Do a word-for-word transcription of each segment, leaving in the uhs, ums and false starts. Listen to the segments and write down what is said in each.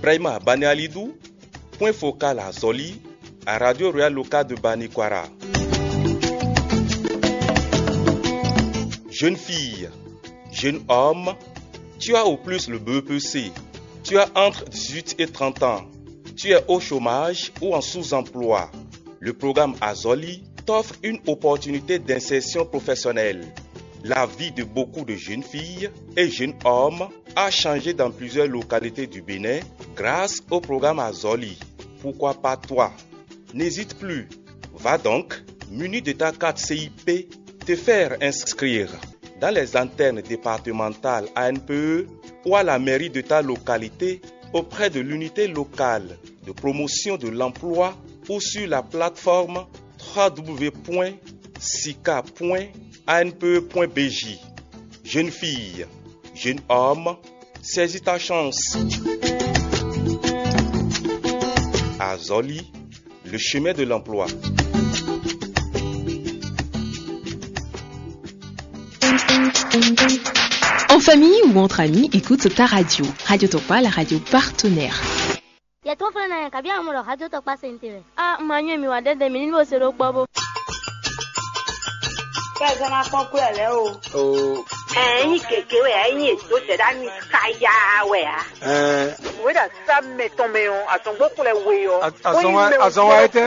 Brahima Banialidu, point focal à Zoli, à Radio Royal Local de Banikwara. Jeune fille, jeune homme, tu as au plus le B E P C, tu as entre dix-huit et trente ans, tu es au chômage ou en sous-emploi. Le programme Azoli t'offre une opportunité d'insertion professionnelle. La vie de beaucoup de jeunes filles et jeunes hommes a changé dans plusieurs localités du Bénin grâce au programme Azoli. Pourquoi pas toi? N'hésite plus. Va donc, muni de ta carte C I P, te faire inscrire dans les antennes départementales A N P E ou à la mairie de ta localité auprès de l'unité locale de promotion de l'emploi ou sur la plateforme trois W point sica point A N P E point B J. Jeune fille, jeune homme, saisis ta chance. Azoli, le chemin de l'emploi. En famille ou entre amis, écoute ta radio. Radio Tokpa, la radio partenaire. Yɛ tó flɛ́ ná yɛ kabi amɔ ɖɔ xájó tɔkpá se ntè wɛ. A ma nyɔ mi wa ɖɛɖɛ mi ní bó se ɖó kpɔ́ bó. Kɛ zɔn ma kpɔn kú ɛ lɛ o. O. Ɛ nyi gègé wɛ ɛ nyi ètò jɛɖá mi káyà wɛ a. Ɛ. Wé ɖa sá mɛ tɔn mɛ ɔ, àtɔ̀ngbó kplɛ we ɔ. Azɔn wa etɛ.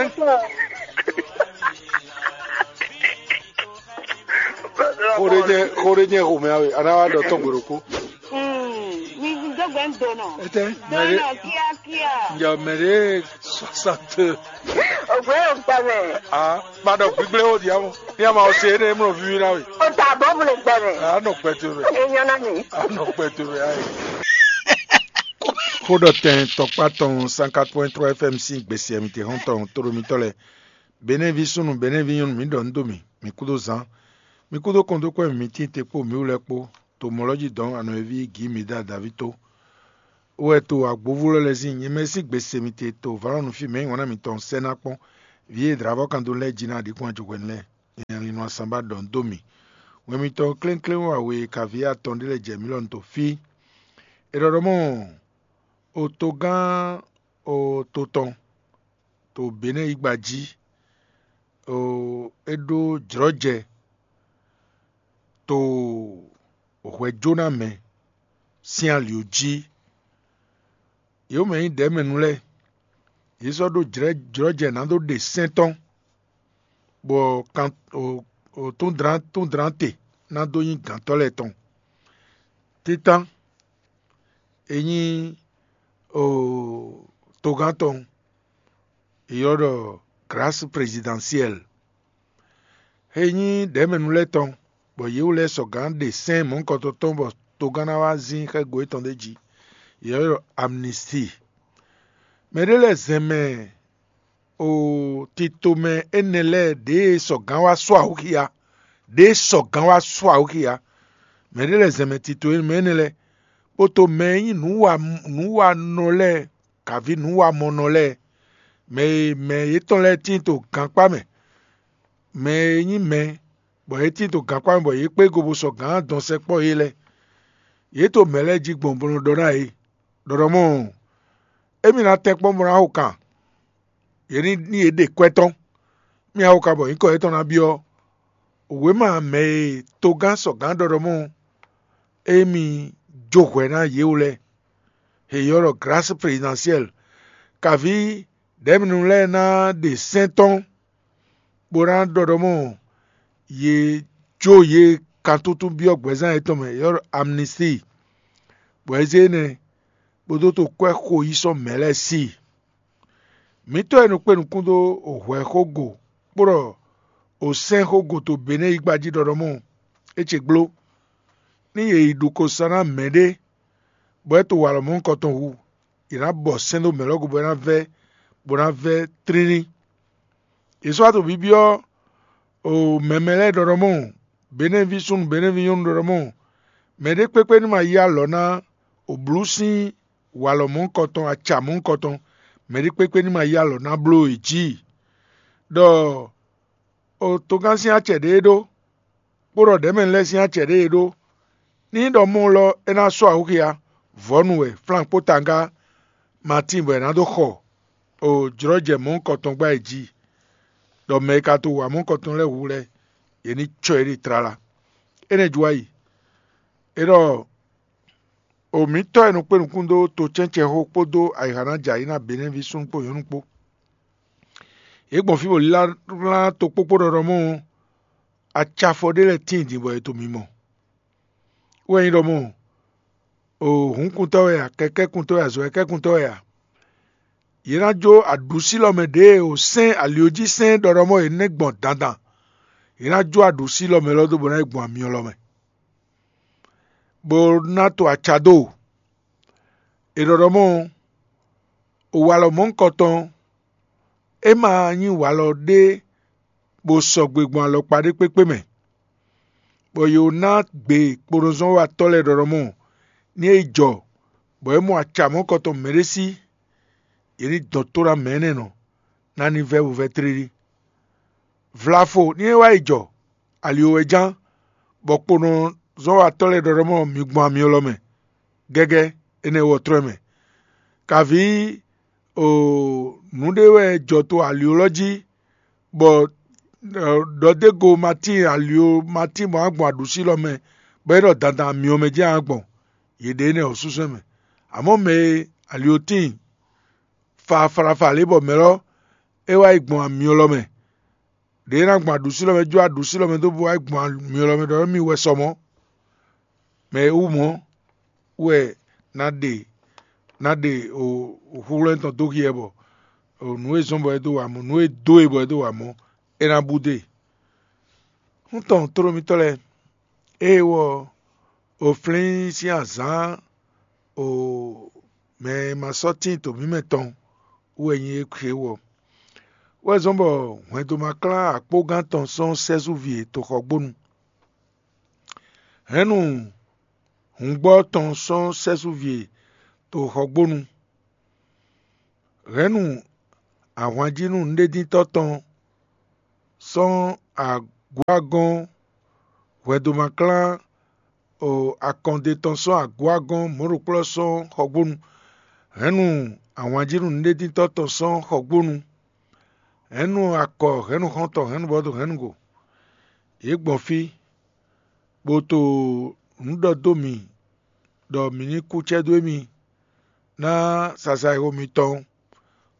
Xo ɖé jẹ́ xo ɖé jẹ́ xomɛ awe, a ná wá ɖɔ tɔn gbe ɖokpó. Mi dɔgbɛ ń donɔ. Etɛ mɛ ɖé Donɔ kíákíá. Njɛ mɛ ɖé soixante. Ògbé ò gbà mɛ. Ah, ma ɖɔ gbígbé o diamu. Ní a ma ɔ se énɛ́ mlɔ víví ná we. O ta bɔ bolo gbà mɛ. A nɔ gbɛ to mɛ. Enyɔ na mi. A nɔ gbɛ to mɛ ayi. Xó ɖɔ tɛn tɔkpá tɔn cent quatre point trois F M sín gbèsè mi te hɔn tɔn tóɖó mitɔ́ lɛ. Benɛ́ví súnnu, Benɛ́ví nyɔ́nu, mǐ ɖɔ nǔ dó mì, mǐ kúdó zán, mǐ kúdó kɔn dó kpɛ́ mǐ tíin te kpó mǐ wú lɛ́ɛ kpó, to mɔ̌ lɔ́ jí dɔ̌n anɔ̌ e ví Gǐ mi dó Daví tó. Ó wɛ to agbóvú lɛ́ lɛ́ sín nyɛ mɛ sín gbe se mi te to vǎlɔ́nu fí mɛ nyí wǎn ná mitɔn sɛ́ ná kpɔ́n, vǐ e dlǎvɔ́ kan dó lɛ́ jí ná ɖǐ kpɔ́n ajɔhwɛnu lɛ́ɛ. Nyɛ Linɔ Asanbá ɖɔ nǔ dó mì. Wɛn mitɔn klénklénwáwe kaví atɔn ɖé lɛ́ɛ jɛ mǐ lɔ nu to fí. È ɖɔ ɖɔ mɔ̌, o togán o to tɔn to Benɛ́ yígba jí, o é ɖó jlɔ̌jɛ to hwɛjónamɛ sín ali ɔ́ jí. Yě mɛ nyí ɖɛ̌mɛnu lɛ́ɛ, yě sɔ́ ɖó jlɔ̌jɛ ná dó ɖe sɛ́n tɔn, bɔ kan o o tún dlán tún dlán te ná dó nyí gǎntɔ́ lɛ́ɛ tɔn. Títán e nyí o togán tɔn, è ylɔ́ ɖɔ grâce présidentielle. E nyí ɖɛ̌mɛnu lɛ́ɛ tɔn, bɔ yě wú lɛ́ɛ sɔgǎn ɖe sɛ́n mɔ̌hunkɔtɔn tɔn bɔ togán ná wá zín xɛ́go yětɔn ɖé jí. Yě ylɔ́ ɖɔ amnistie. Mɛ ɖé lɛ́ɛ zɛn mɛ o titomɛ énɛ́ lɛ́ɛ ɖěe sɔgǎn wá sú awǔxia, ɖěe sɔgǎn wá sú awǔxia. Mɛ ɖé lɛ́ɛ zɛn mɛ tito e mɛ énɛ́ lɛ́ɛ, bó to mɛ e nyí nǔwa nǔwanɔ lɛ́ɛ, kǎví nǔwamɔnɔ lɛ́ɛ, mɛ e mɛ yětɔn lɛ́ɛ tíin to gankpá mɛ, mɛ e nyí mɛ bɔ yě tíin to gankpá mɛ bɔ yě kpé go bó sɔgǎn dɔn sɛkpɔ́ yě lɛ́ɛ. Yě to mɛ lɛ́ɛ jí gbɔn bó nɔ ɖɔ ná yě ɖɔ ɖɔ mɔ̌, émí ná tɛ́nkpɔ́n bó ná xo kan. Yě ní ní yě ɖe kwɛ́ tɔn. Mì awo ka bɔ nyǐkɔ yětɔn ná byɔ́. Wěma mɛ e togán sɔgǎn ɖɔ ɖɔ mɔ̌ émí jó hwɛ ná yě wú lɛ́ɛ. È ylɔ́ ɖɔ grâce présidentielle. Kaví ɖɛ̌mɛnu lɛ́ɛ ná ɖe sɛ́n tɔn bó ná ɖɔ ɖɔ mɔ̌ yě jó yě kantúntún byɔ́ gbɛ̌zán yětɔn mɛ, è ylɔ́ ɖɔ amnistie. Bɔ é zé énɛ́ bó dó to kwɛ́ xo yí sɔ́ mɛ̌ lɛ́ɛ sí i. Mǐtɔn e nɔ kpé nukún dó hwɛ̌xógo kpó ɖɔ osɛ́nxógo to Benɛ́ yígba jí ɖɔ ɖɔ mɔ̌, é ce gbló. Ní yě yi ɖu ko sa ná mɛ̌ɖé, bɔ é to walɔ mɔ̌hunkɔtɔn hu, yě ná bɔ sɛ́n dó mɛ̌ lɔ́ go bɔ é ná vɛ́, bó ná vɛ́ tlílí. Yě sɔ́ wá to byɔ́byɔ́ o mɛmɛ lɛ́ɛ ɖɔ ɖɔ mɔ̌, Benɛ́ví súnnu, Benɛ́ví nyɔ́nu ɖɔ ɖɔ mɔ̌, mɛɖé kpékpé ní ma yí alɔ ná oblú sín walɔ mɔ̌hunkɔtɔn, aca mɔ̌hunkɔtɔn, mɛɖé kpékpé ní ma yí alɔ ná bló yě jí, ɖɔ o togán sín acɛ ɖě é ɖó, kpó ɖɔ ɖɛ̌mɛnu lɛ́ɛ sín acɛ ɖě é ɖó. Ní nyí ɖɔ mɔ lɔ é ná sɔ́ awǔxia, vɔ̌nu wɛ, flankpó tangá, Matín bɔ è nǎ dó xɔ o jlɔ́jɛ mɔ̌hunkɔtɔn gbá yě jí, ɖɔ mɛ e ka to wa mɔ̌hunkɔtɔn lɛ́ɛ hu lɛ́ɛ, yě ní cɔ yě ɖi tlala. Énɛ́ jí wá yi, é ɖɔ o mǐtɔ́ e nɔ kpé nukún dó tocɛ́ncɛxó kpódó ayǐhanájɛ ayǐ ná Benɛ́ví súnnu kpó nyɔ̌nu kpó. Yě gbɔn fí bɔ lílálá tokpókpó ɖɔɖɔ mɔ ɔ́, acafɔ ɖé lɛ́ɛ tíin din bɔ è to mǐmɔ. Wɛ nyí ɖɔ mɔ o hǔnkuntɔ́ wɛ a, kɛkɛ́kuntɔ́ wɛ a, zɔ̌kɛ́kuntɔ́ wɛ a, yě ná jó aɖǔsílɔ mɛ ɖěe o sɛ́n ali ɔ́ jí sɛ́n ɖɔɖɔ mɔ yě nɛ́ gbɔn dandan. Yě ná jó aɖǔsílɔ mɛ lɔ dó bɔ ná yi gbɔn amyɔ lɔ mɛ, bó ná to aca dó. È ɖɔ ɖɔ mɔ o walɔ mɔ̌hunkɔtɔn, é ma nyí walɔ ɖé bó sɔgbe gbɔn alɔkpa ɖé kpékpé mɛ, bɔ yě ná gbe kponɔzɔ́watɔ́ lɛ́ɛ ɖɔɖɔ mɔ ní é yi jɔ, bɔ é mɔ acǎ mɔ̌hunkɔtɔn mɛɖé sí, yě ní dɔn tó ná mɛ énɛ́ nɔ ná ní vɛ́ bo vɛ́ tlílí. Vlafo ní é wá yi jɔ ali wɛ ján, bɔ kponɔzɔ́watɔ́ lɛ́ɛ ɖɔɖɔ mɔ mi gbɔn amyɔ lɔ mɛ gɛ́gɛ́, énɛ́ wɔ trɔ́ ɛ mɛ. Kaví o nǔɖé wɛ jɔ to ali lɔ jí, bɔ ɖɔdégo ma tíin ali, ma tíin bɔ á gbɔn aɖǔsí lɔ mɛ, bɔ é ɖɔ dandan amyɔ mɛ jɛ́n á gbɔn, yě ɖe énɛ́ ɔ́ súsú mɛ. Amɔ̌ mɛ e ali ɔ́ tíin faafalafa lě bɔ mɛ̌ lɔ é wá yi gbɔn amyɔ lɔ mɛ, ɖě é ná gbɔn aɖǔsí lɔ mɛ jó aɖǔsí lɔ mɛ dó bó wá yi gbɔn amyɔ lɔ mɛ ɖɔ émí wɛ sɔ mɔ̌. Mɛ e wú mɔ̌ wɛ ná ɖe ná ɖe o húhwlɛ́n tɔn dó hyɛ bɔ o nǔ e zɔ́n bɔ é dó wa mɔ̌, nǔ e dó e bɔ é dó wa mɔ̌, é ná bú dó e. Hún tɔn tlóló mitɔ́ lɛ́ɛ, ée wɔ o flín sín azǎn o mɛ e ma sɔ́ tíin to mǐ mɛ tɔn wú wɛ nyí é xwé wɔ. Wɛ zɔ́n bɔ hwɛndo ma klán akpógán tɔn sɔ́ sɛ́zúvi e toxɔgbónu. Hɛ̌nnu hǔngbɔ́ tɔn sɔ́ sɛ́zúvi e toxɔgbónu. Hɛ̌nnu ahwanjínú nǔɖédíntɔ́ tɔn sɔ́ agwágɔ́n hwɛndo ma klán o akɔnde tɔn sɔ́ agwágɔ́n mɔ̌ɖokplɔ́ sɔ́ xɔgbónu. Hɛ̌nnu ahwanjínú nǔɖédíntɔ́ tɔn sɔ́ xɔgbónu. Hɛ̌nnu akɔ hɛ̌nnu xɔ́ntɔn hɛ̌nnu bɔ́ dó hɛ̌nnu go. Yě gbɔn fí, bó to nǔ ɖɔ dó mì ɖɔ mǐ ní kú cɛ́ dó émí, ná sasa e xo mitɔn,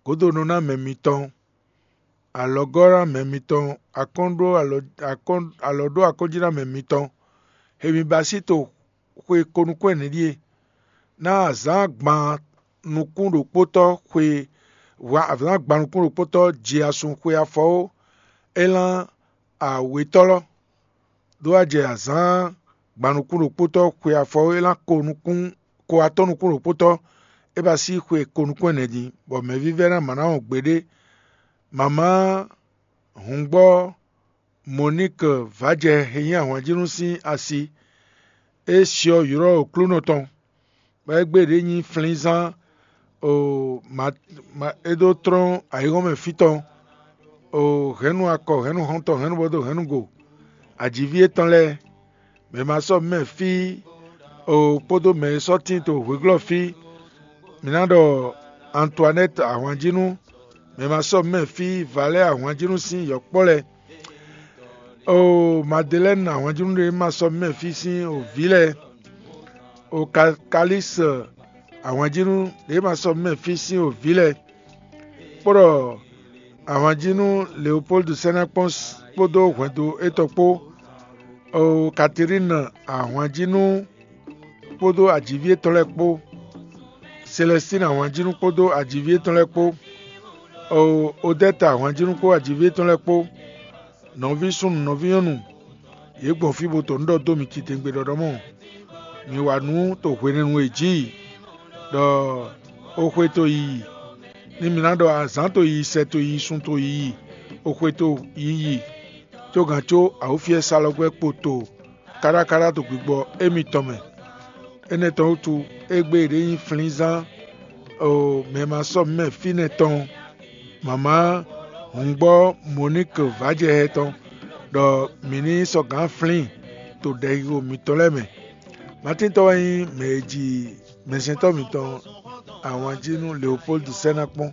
gǒdonɔ ná mɛ mitɔn, alɔgɔ́ ná mɛ mitɔn, akɔ́n ɖó alɔ akɔ́n alɔ ɖó akɔ́njí ná mɛ mitɔn. He mi ba sí to xwe ko nukún ɛnɛ ɖíe: ná azǎn gban nukún ɖokpótɔ́ xwe azǎn gban nukún ɖokpótɔ́ ji asun xwe afɔ ó, é lán awětɔ́lɔ́. Dó wá jɛ azǎn gban nukún ɖokpótɔ́ xwe afɔ é lán ko nukún ko atɔ́ nukún ɖokpótɔ́, é ba sí xwe ko nukún ɛnɛ din, bɔ mɛ̌vívɛ́ná ma ná wɔn gbeɖé. Mama hǔngbɔ́ Moník vǎjɛ he nyí ahwanjínú sín asi, é syɔ ylɔ́ Oklúnɔ tɔn, bɔ é gbe ɖě nyí flínzán o ma ma é dó tlɔ́n ayǐhɔ́n mɛ fí tɔn o hɛ̌nnu akɔ hɛ̌nnu xɔ́ntɔn hɛ̌nnu bɔ́ dó hɛ̌nnu go. Ajiví étɔn lɛ́ɛ, mɛ ma sɔ́ mɛ fí o kpódó mɛ e sɔ́ tíin to hweglɔ́ fí, mǐ ná ɖɔ Antoanɛ́ti ahwanjínú, mɛ ma sɔ́ mɛ fí Valɛ́ ahwanjínú sín yɔ̌kpɔ́ lɛ́ɛ, o Madelɛ́ni ahwanjínú ɖé ma sɔ́ mɛ fí sín o vǐ lɛ́ɛ, o Kalísi ahwanjínú ɖě ma sɔ́ mɛ fí sín o vǐ lɛ́ɛ, kpó ɖɔ ahwanjínú Leopoldu sɛ́ ná kpɔ́n kpódó hwɛndo étɔn kpó, o Katerína ahwanjínú kpódó ajiví étɔn lɛ́ɛ kpó, Selɛstíni ahwanjínú kpódó ajiví étɔn lɛ́ɛ kpó, o Odɛ́ta ahwanjínú kpó ajiví étɔn lɛ́ɛ kpó, nɔví súnnu nɔví nyɔ́nu, yě gbɔn fí bó to nǔ ɖɔ dó mi titewungbe ɖɔɖɔ mɔ. Mi wa nǔ to hwenɛ́nu e jí, ɖɔ o xwe to yiyi, ní mi ná ɖɔ azǎn to yiyi, sɛ to yiyi, sun to yiyi, o xwe to yiyi, có gǎn có awǒfiɛ́salɔgbɛ́ kpo to káɖákáɖá to gbigbɔ émitɔn mɛ. Énɛ́ tɔn wútu, égbé e ɖě nyí flínzán o mɛ ma sɔ́ mɛ fínɛ́ tɔn, mama hǔngbɔ́ Moník vǎjɛhɛ tɔn, ɖɔ mǐ ní sɔ́ gǎn flín to ɖɛxixo mitɔn lɛ́ɛ mɛ. Matíntɔ́ wɛ nyí mɛ e ji mɛsɛntɔ́ mitɔn Awǎn jí nú Leopoldu sɛ́ ná kpɔ́n.